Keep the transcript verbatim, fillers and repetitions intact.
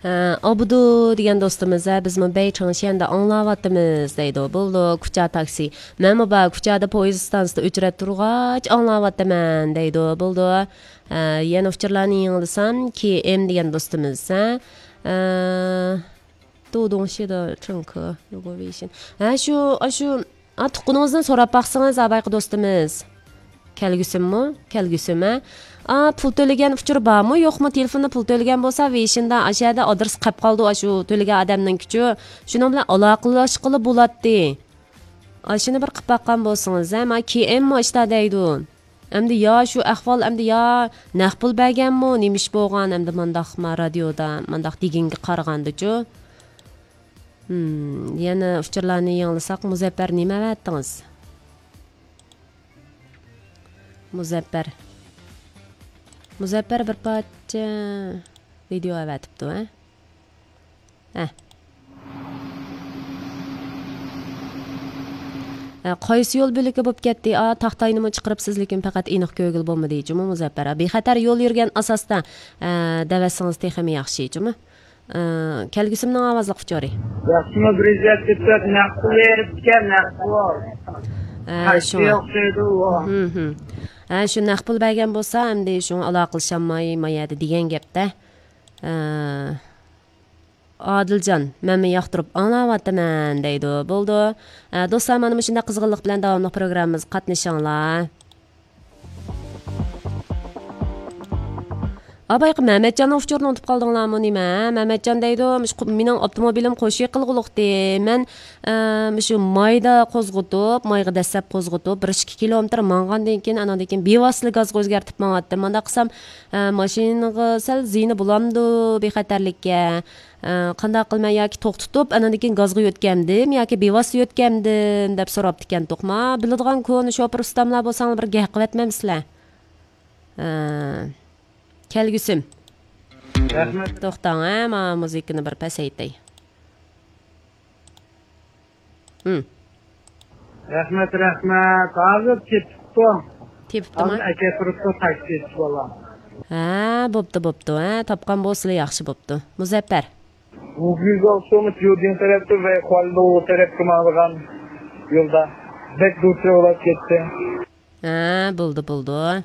ئابدۇ دېگەن دوستىمىز، ھە، بىزمۇ بەي چاڭشيەندە ئاڭلاۋاتىمىز دەيدۇ. بولىدۇ، كۇچا تاكسى. مەنمۇ بار كۇچادا پويىز ئىستانسىسىدا ئۆچرەت تۇرغاچ ئاڭلاۋاتىمەن دەيدۇ. بولىدۇ. ھە، يەنە ئۇچۇرلارنى يېڭىلىسام، كېي ئېم دېگەن دوستىمىز، ھە. ھە، 杜洞西的乘客，如果微信. ھە، شۇ، ئاشۇ، ئا، تۇغقىنىڭىزدىن سوراپ باقسىڭىز، ئا، بايقى دوستىمىز. كەلگۈسىممۇ؟ كەلگۈسىم، ھە؟ ئا، پۇل تۆلىگەن ئۇچۇر بارمۇ، يوقمۇ؟ تېلېفوندا پۇل تۆلىگەن بولسا، ۋېيشىندا، ئاشۇ يەردە ئادرېس قېلىپ قالىدۇ، ئاشۇ تۆلىگەن ئادەمنىڭكىچۇ. شۇنىڭ بىلەن ئالاقىلەشكىلى بولاتتى. ئاشۇنى بىر قىلىپ باققان بولسىڭىز، ھە؟ ما كېي ئېممۇ ئىشتا دەيدۇ. ئەمدى يا شۇ ئەھۋال، ئەمدى يا نەق پۇل بەرگەنمۇ، نېمە ئىش بولغان، ئەمدى مانداق ما رادىيودا، مانداق دېگەنگە قارىغاندىچۇ. ھىم، يەنە ئۇچۇرلارنى يېڭىلىساق، مۇزەپپەر نېمە ئەۋەتتىڭىز؟ مۇزەپپەر. مۇزەپپەر بىر پارچە ۋىدېئو ئەۋەتىپتۇ، ھە؟ ھە. ھە، قايسى يول بۆلىكى بولۇپ كەتتى؟ ئا، تاختاينىمۇ چىقىرىپسىز، لېكىن پەقەت ئېنىق كۆرگىلى بولمىدى، جۇمۇ مۇزەپپەر. ھە، بىخەتەر يول يۈرگەن ئاساستا، ھە، دەۋەتسىڭىز تېخىمۇ ياخشى، جۇمۇ. ھە، كەلگۈسىمنىڭ ئاۋازلىق ئۇچۇرى. ياخشىمۇ، بىر يۈز يەتمىش تۆت نەق پۇل بېرىپتىكەن، نەق پۇل. ھە، شۇڭا. ھە، شۇ نەق پۇل بەرگەن بولسا، ئەمدى شۇڭا ئالاقىلىشالماي، ما يەردە دېگەن گەپتە. ھە. ئادىلجان، مەنمۇ ياقتۇرۇپ ئاڭلاۋاتىمەن دەيدۇ. بولىدۇ. ئە، دوستلار، مانا مۇشۇنداق قىزغىنلىق بىلەن داۋاملىق پروگراممىمىزغا قاتنىشىڭلار. ئا، بايقى مەمەتجاننىڭ ئۇچۇرىنى ئۇنتۇپ قالدىڭلارمۇ نېمە؟ مەمەتجان دەيدۇ، مۇشۇ قۇ-، مېنىڭ ئاپتوموبىلىم قوشۇ يېقىلغۇلۇقتى. مەن، ئە، مۇشۇ مايدا قوزغىتىپ، مايغا دەسسەپ قوزغىتىپ، بىر ئىككى كىلومېتىر ماڭغاندىن كېيىن، ئاناندىن كېيىن بىۋاسىتە گازغا ئۆزگەرتىپ ماڭاتتىم. مانداق قىلسام، ئە، ماشىنىغا سەل زىيىنى بولامدۇ، بىخەتەرلىككە؟ ئە، قانداق قىلىمەن، ياكى توختىتىپ، ئانىڭدىن كېيىن گازغا يۆتكەمدىم ياكى بىۋاسىتە يۆتكەمدىم دەپ سوراپتىكەن توقما. بىلىدىغان كونا شوپۇر ئۇستاملار بولساڭلار بىر گەپ قىلىۋەتمەمسىلەر؟ ئە، كەلگۈسىم. رەھمەت. توختاڭ، ھە، مانا مۇزىكىنى بىر پەسەيتەي. ھىم. رەھمەت، رەھمەت. ھازىر تېپىپتۇ. تېپىپتۇما؟ ھازىر ئەكەپ تۇرۇپتۇ تاكسىچى بالا. ھە، بوپتۇ، بوپتۇ. ھە، تاپقان بولسىلا ياخشى بوپتۇ. مۇزەپپەر. ۋۇگۈزاۋ سومۇت يۇدىن تەرەپتە ۋە خۇالدوۋ تەرەپكە ماڭىدىغان يولدا. بەك دۇچ بولاپ كەتتى. ھە، بولدى، بولدى.